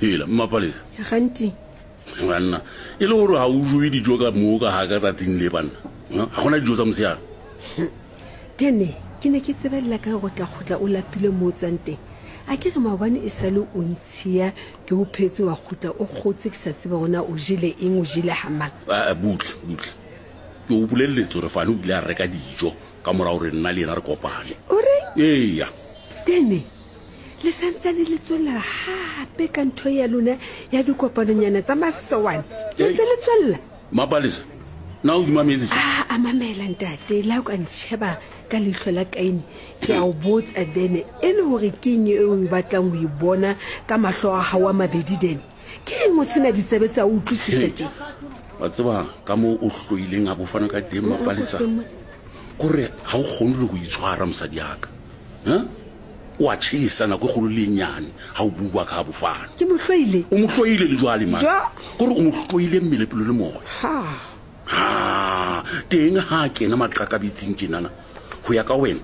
Hela, Mmapalesa. Ganti. Banna, e le gore ga o jowe dijo ka moo ka ga ka tsatsing le banna. Ga gona dijo tsa mosegare. Tene, ke ne ke tsebelela ka go tla kgutla o lapile mo o tswang teng. A ke re maobane e sa le o ntshiya ke o phetse wa kgutla o kgotse ke sa tsebe gore na o jele eng o jele ga mang. Aa, butle, butle. Ke o boleletse gore Fane o ile a reka dijo ka morago gore nna le yena re kopane. O reng? Eya. Tene, le santsane le tswelela gape ka ntho ya lona ya dikopanonyana tsa masewane. Le ntse le tswelela? Mapalesa, na o di mametse tše? A, a mamela ntate, le ha o ka ntšheba ka leihlo la Kaine, ke a o botsa Dene, e le gore ke eng e o batlang go e bona ka mahlo a gago a mabedi Dene? Ke eng o se na ditsebe tsa go utlwisisa tše? Wa tseba ka mo o hloileng a bofana ka teng, Mapalesa, kore ga o kgone le go itshwara mosadi yaka. Huh? O a tšhesa nako e kgolo le e nnyane ga o bua ka ga bofana. Ke mo hloile. O mo hloile le jwale man. Jo. Kore o mo hloile mmele pelo le moya. Ha. Ha, teng ha a kena maqakabetsing tjenana, go ya ka wena,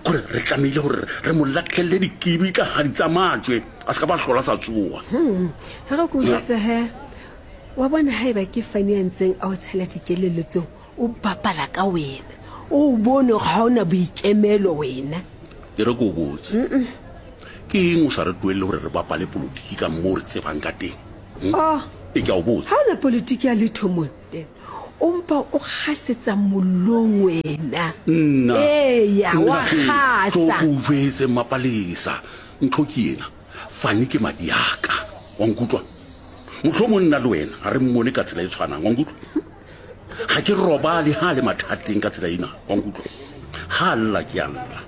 kore re tlamehile gore re mo latlhelele dikibitlahadi tsa majwe a se ka ba hlola sa tsoga. Hmm. Ge re ko jwetse he, wa bona haeba ke Fani a ntseng a o tshela dikelello tseo, O bapala ka wena. O bone gore ga o na boikemelo wena. E re ko o botse. Ke eng o sa re tloelele gore re bapale polotiki ka moo re tsebang ka teng? Hmm? Oh. E ke a o botsa. Ga o na politiki ya letho mo. O mpa o gasetsa mollong wena. Nna. Eya, wa gasa. Tlo ko o jwetse Mmapalesa. Ntho ke ena. Fane ke madi a ka. Wa nkutlwa? Mohlomong nna le wena ga re mmone ka tsela e tshwanang. Wa nkutlwa? Ga ke robale ha a le mathateng ka tsela ena. Wa nkutlwa? Ha a lla ke a lla.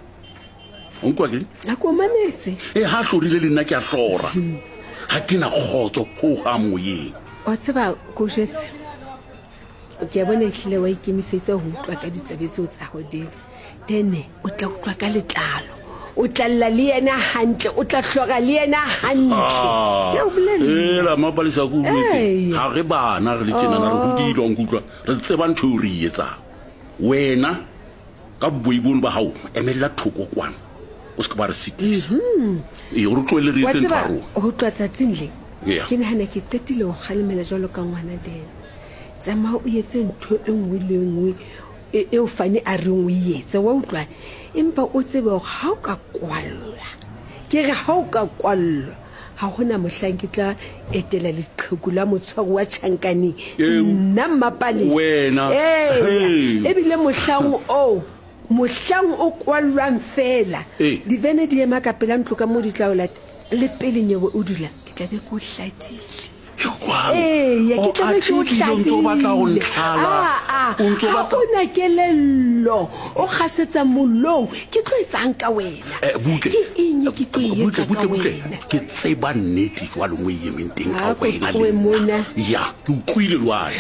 O nkutlwa ke? A ko mametse. E ha a hlorile le nna ke a hlora. Ga ke na kgotso ho hang moyeng. Wa tseba ko jwetse. Ke a bona ehlile wa ikemisetsa ho utlwa ka ditsebe tseo tsa hao Dene. Dene o tla utlwa ka letlalo. O tla lla le yena hantle, o tla hlora le yena hantle. Ah, Ke a o bolella. Ela Mapalesa ko jwetse. Ee. Ga re bana re le tjenana re hodile wa nkutlwa. Re tseba ntho eo re e etsang. Wena ka boi bono ba gago emelela thoko kwana. O se ke ba re sitisa. Ee, o re tlohele re Wa etse ntho tseba ya rona. ho tloha tsatsing le Yeah. ke nahana ke qetile ho kgalemela jwalo ka ngwana Dene. Tsamaya o etse ntho e nngwe le e nngwe e, eo Fani a reng o e etse, wa utlwa? Empa o tsebe hore ha o ka kwallwa, ke re ha o ka kwallwa, ha hona mohlang ke tla etela leqheku la motshwari wa tjhankaneng, Eo. nna Mmapalesa. Wena. Eya, Hey. ebile mohlang oo, mohlang o kwallwang feela, Ee. divene di ema ka pela ntlo ka moo di tla o lata, le pele nyewe o dula, ke tla be ke o hladile. Eya, ke tla be ke o hladile. Aa, ha o na kelello, o kgasetsa mollong, ke tlo etsang ka wena? Eh, butle. Ke eng e ke tlo e Butle, etsa ka butle, butle. wena? Ke tseba nnete jwale mo e emeng teng ka Ha ko wena le tlohe nna. mona. Ya, ke utlwile jwale.